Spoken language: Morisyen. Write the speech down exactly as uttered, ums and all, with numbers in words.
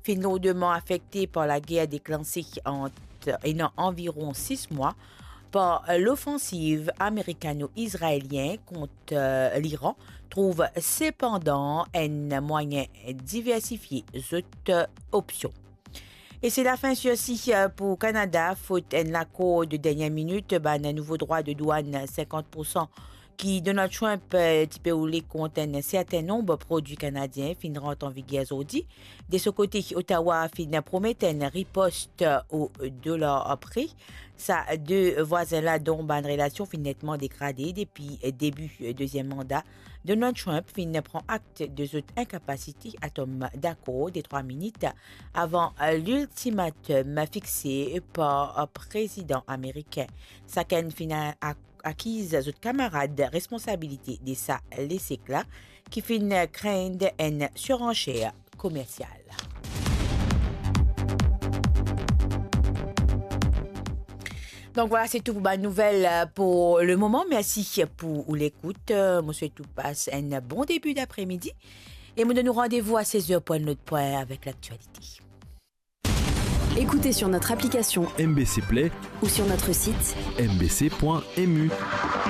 finn lourdeman afekte par lager deklanse ant, ena anviron sis mwa, par lofansiv amerikano-izraelien kont, eh, Liran, trouv sepandan enn mwayin diversifie zot, eh, opsion. E se lafin sirsi, eh, pou Kanada, fot enn lakor de dernie minit, bann nouvo drwa de dwann sinkant poursan ki Donald Trump, eh, ti pe oule kont enn serten nonb prodwi kanadien finn rant an viger zordi. De so kote, Ottawa finn promet enn ripost o dolar pre. Sa de vwazin la, dont bann relasion finn netman degrade depi debi deziem manda Donald Trump, finn pran akt de zot inkapasite a tom dakor de trwa minit avan liltimatom fixe par prezidan amerikin. Sakenn finn a-, akiz zot kamarad responsabilite de sa lesek la, ki finn kree enn siranser komersial. Donk vwala, se tou pou bann nouvel, eh, pou lemoman. Mersi pou ou lekout. Eh, mo swet ou pas enn bon debi dapremidi. E mo donn ou randevou a sez er pou enn lot pwin avek laktialite. Écoutez sur notre application M B C Play ou sur notre site M B C point M U.